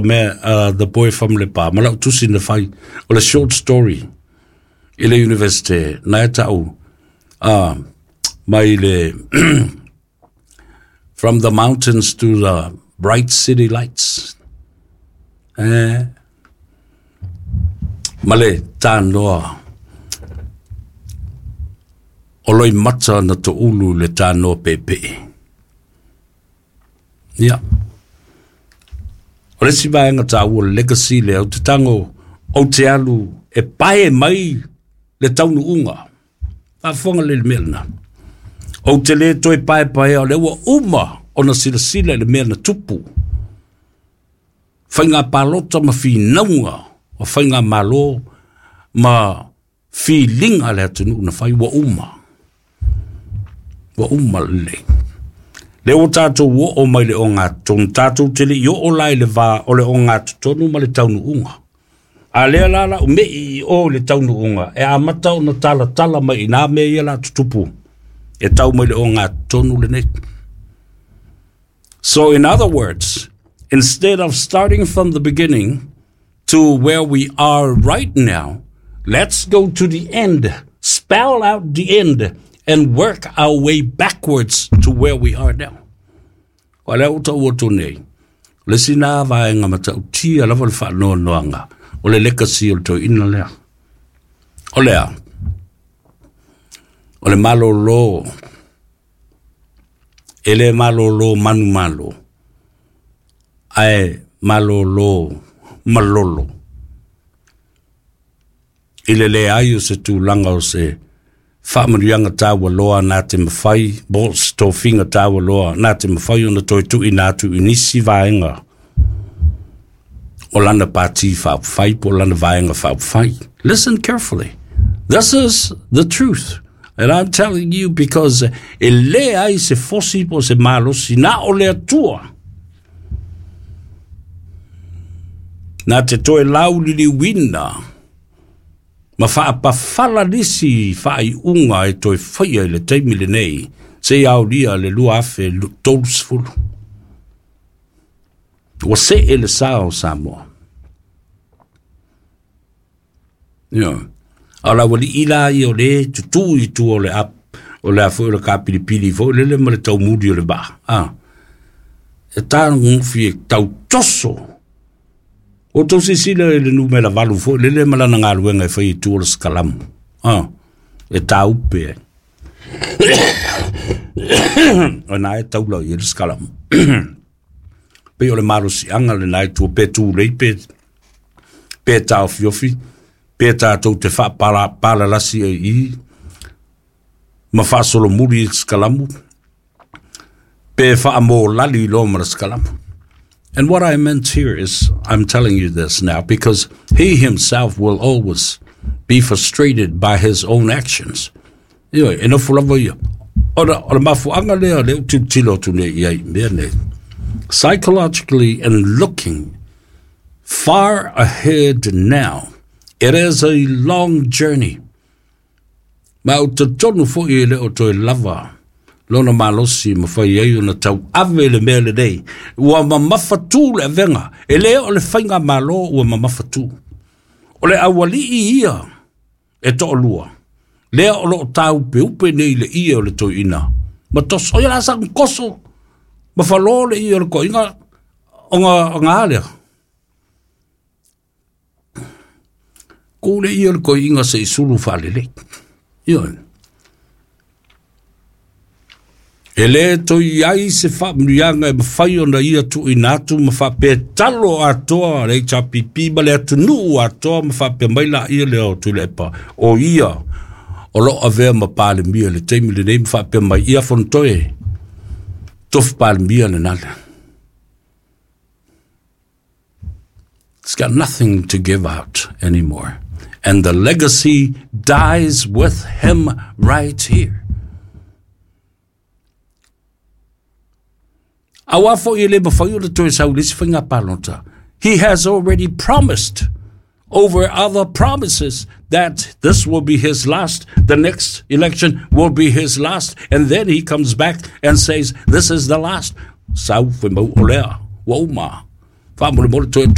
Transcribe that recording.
Mea The Boy from Lepa ma lau tusi na fai o le short story i le university na e tau mai le From the Mountains to the Bright City Lights. Eh, ma le tānoa o Loimata na toulu le tānoa pepe. Ia. O le isi vaega taua o le legacy lea, ou te tago ou te alu e pae mai le taunuuga. Faafofoga lelei i le mea lena. Ou te le toe paepaea o lea ua uma ona silasila i le mea na tupu. Faiga palota ma finauga o faigamalo ma filiga a le atunuu na fai ua uma. Ua uma lelei. Lea ua tatou oo mai le ogatotonu, tatou te le i oo la i le va o le ogatotonu ma le taunuuga. A lea la lau mei i o i le taunuuga, e amata ona talatala mai i nā mea ia la tutupu e tau mai le ogatotonu lenei. So in other words, instead of starting from the beginning to where we are right now, let's go to the end, spell out the end, and work our way backwards to where we are now. O lea ua tau atu nei, o le isi nā vaega matautia lava le faanoanoaga o le legacy o le toeaina lea. O lea, o le malolo, e le malolo manumalo, ae malolo malolo. I le leai o se tulaga o se faamanuiaga taualoa na te mafai, po o se tofiga taualoa na te mafai ona toe tuuina atu i nisi vaega o lana pati faaupufai po o lana vaega faaupufai. Listen carefully. This is the truth. And I'm telling you because e leai se fosi po o se malosi na o le Atua na te toe lauliliuina ma faapafala nisi faaiuga e toe faia i le taimi lenei seia aolia le 2030. Ua see le sa o Samoa. Ioe. A o le aualii la ia o lea e tutū i tua o le ap, o le a foi o le kapilipili foi lele ma le taumuli o le vaa, a, e tagofi e tautoso. Ua outou silasila i le numera 8 foi lele ma lana galuega e fai i tua o le sikalamu, a, e tāupe ai. O lena e taula i ai le sikalamu. Pei o le malosiaga lena i tua, pe tulei pe, pe taofiofi, pe tatou te faapalalasi ai i i, ma faasolomuli i le sikalamu, pe faamolali loa ma le sikalamu. And what I meant here is, I'm telling you this now because he himself will always be frustrated by his own actions. Ioe, e nofo lava ia. Ona, o le mafuaaga lea lea ou tilotilo atu nei i ai i mea nei. Psychologically and looking far ahead now, it is a long journey. Ma ou te talitonu foi e le o toe lava lona malosi ma fai ai ona tauave i le mea lenei. Ua mamafatū le avega, e le o le faigamalo ua mamafatū. O le aualii ia e toalua, lea o lo o tāupeupe nei i le ie o le toeaina ma toso. O ia la sa koso ma falo le ie o le toeaina ona a lea. Ku le ie o le toeaina se i sulu faalelei. Ioe. E le toe i ai se faamanuiaga e mafai ona ia tuuina atu ma faapea talo atoa le HRPP ma le atunuu atoa ma faapea mai laia lea o Tuilaepa o ia o lo o avea ma Palemia i le taimi lenei ma faapea mai ia Fonotoe tofu Palemia lena lea. It's got nothing to give out anymore. And the legacy dies with him right here. Aua foi e le mafai ona toe sau i le isi faiga palota. He has already promised over other promises that this will be his last, the next election will be his last, and then he comes back and says, this is the last. Sau fe mau o lea, ua uma. Faamolemole toe.